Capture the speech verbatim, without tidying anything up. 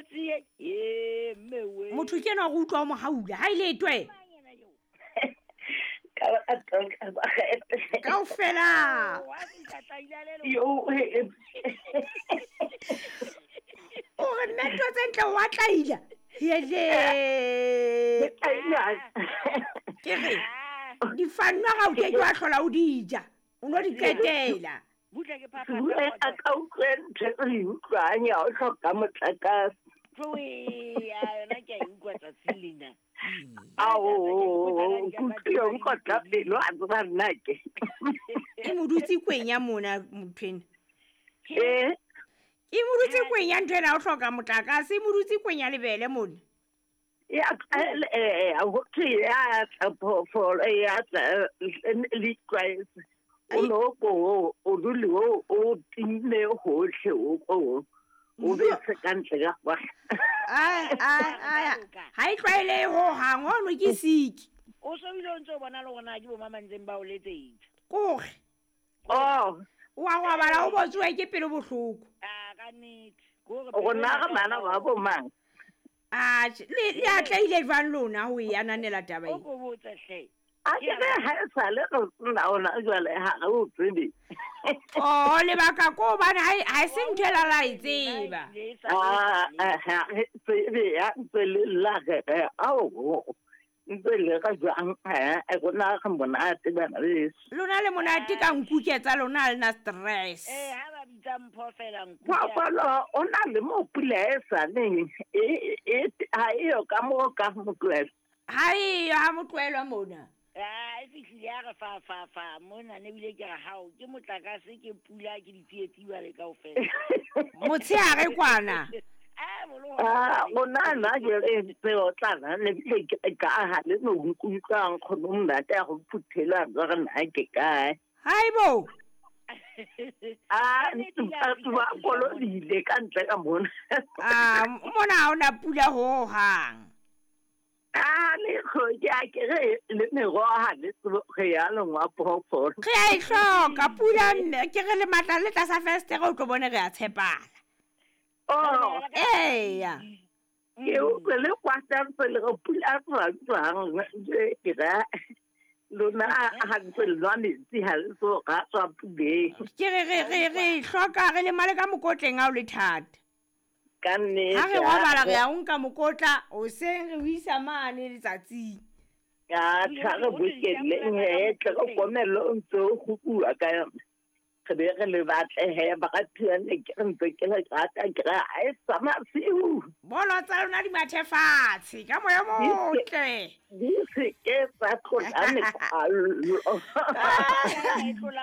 Tsie e mme we. Motho ke ena go utlwa o mo haula ha ile twe. Kaofela. Wa fihla tlaila le le. Yo eh, O re mme ntho tse ntle wa tlaila. Hele. Ke re difanwa ga o ke ke wa hlola o di ja. O no di qetela. Butle ke phapha. Bue a ka utlwe ntho e re e utlwang ya o hloka motlakase. Tloe ya yona ke a e utlwa tsatsing lena. Ao, kutlwe o nkotla pelo a tseba nna ke. E mo dutse kweng ya mona motho ena. Eh, E mo dutse kweng ya ntho ena o hloka motlakase, e mo dutse kweng ya lebele mona. ya eh ho thwe ya tla phoofolo ya tla le itlwaetse. O no ko o dule o o timme hohle o ko o be se ka ntle ka kwa. Ai ai ai. Ha e tlwaelehe hohang, hono ke siki. O so bile o ntse o bona le hore na ke bo mama ntseng ba o letsetsa. Kore Oh, wa robala o botsuwe ke pelo bohloko. Ah ka nnete. Ke hore rona re bana ba bo mang? Atjhe, le le atlehile jwang lona ho e ananela taba O e? ko botse hle. A ke re ha e sale re nna ona jwale ha re o tsebe. Oh, lebaka ko hobane ha e ha e se ntho e la la e tseba. Ah, ah, ha re tsebe ya ntse le lla re re ao ntse le re jwang eh rona re monate bana beso. Lona le monate ka nkuke tsa lona ha le na stress. Eh ha ba bitsa mpho fela nku. Phoofolo o na le mo pula e sa neng e e ha eyo ka mo ka motlohelo. Ha eyo ha motlohelwa mona. Ah e fihlile ya re fa fa fa mona ne bile ke re hao ke motlakase ke pula ke ditsietsi jwale kaofela. Motshehare kwana. Ah bolo. Ah, rona nna jwale ntse o tlana le bile ke ka ha le no nkutlwang kgone monate ya go phuthela re nna ke kae. Haibo. Ah, batho ba kolobile ka ntle ka mona. Ah, mona ha hona pula hohang. Ah, le ke a ke re le meroho ha le tsebe re ya lengwa phoofolo. Re a e hloka pula mme ke re le matla le tlasa festere o tlo bone re a tshepala. Oh, Eya. ke utlwe le kwata ntse le re pula tswang jwang ke ra lona ha ntse le nwa metsi ha le so ra tswa puleng. Ke re re re re e hloka re lemale ka mokotleng ha o le thata. Ka nnete. Ha re robala re a o nka mokotla hoseng re o isa mane letsatsing. Ya tla re bokelleng he tle re komello o ntse o kgukuwa ka yona. Re be re le batle he ba ka phiyane ke re ntse ke le rata ke re ha e sa masiu. Bolo tsa lona di mathe fatshe ka moya o motle. Di se ke tsa tlola mekwallo. E tlola